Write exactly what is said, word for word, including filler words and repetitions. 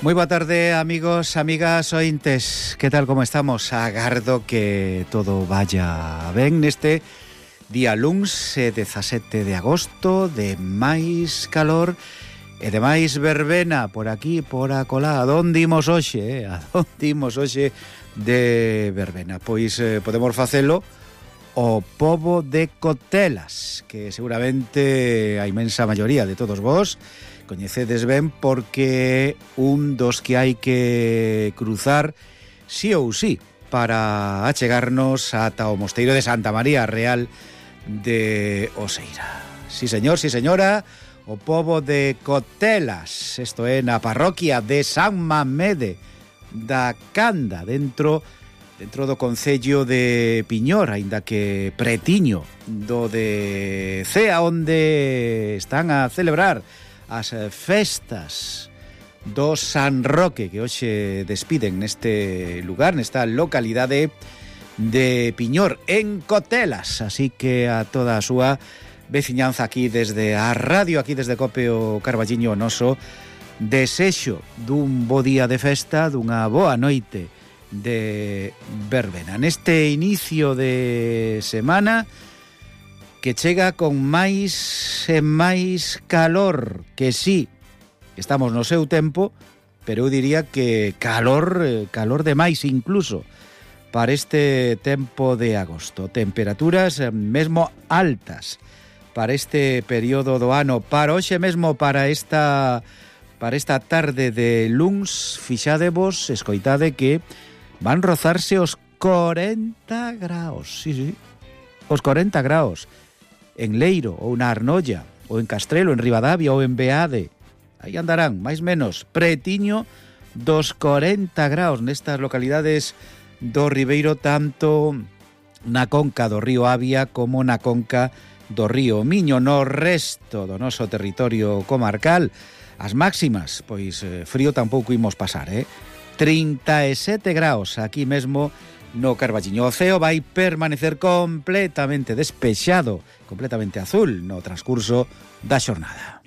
Moi boa tarde, amigos, amigas, ointes. Que tal, como estamos? Agardo que todo vaya ben neste día luns, dezasete de agosto, de máis calor e de máis verbena por aquí, por acolá. A donde imos hoxe, eh? A donde imos hoxe de verbena? Pois eh, podemos facelo o pobo de Cotelas, que seguramente a inmensa maioría de todos vos coñecedes ben, porque un dos que hai que cruzar sí ou sí para achegarnos ata o mosteiro de Santa María Real de Oseira. Sí señor, sí señora, o pobo de Cotelas, isto é na parroquia de San Mamede da Canda, dentro dentro do concello de Piñor, aínda que pretiño do de Cea, onde están a celebrar as festas do San Roque, que hoxe despiden neste lugar, nesta localidade de Piñor, en Cotelas. Así que a toda a súa veciñanza aquí desde a radio, aquí desde Cope o Carballiño noso, desexo dun bo día de festa, dunha boa noite de verbena. Neste inicio de semana que chega con máis e máis calor, que sí, estamos no seu tempo, pero eu diría que calor, calor de máis incluso para este tempo de agosto. Temperaturas mesmo altas para este período do ano, para hoxe mesmo, para esta para esta tarde de luns. Fixadevos, escoitade que van rozarse os corenta graos, sí, sí, os corenta graos. En Leiro, ou na Arnolla, ou en Castrelo, en Ribadavia, ou en Beade. Aí andarán, máis menos, pretiño dos corenta graos nestas localidades do Ribeiro, tanto na conca do río Avia como na conca do río Miño. No resto do noso territorio comarcal, as máximas, pois eh, frío tampouco imos pasar, eh? trinta e sete graos aquí mesmo no Carballiño. O ceo vai permanecer completamente despexado, completamente azul no transcurso da xornada.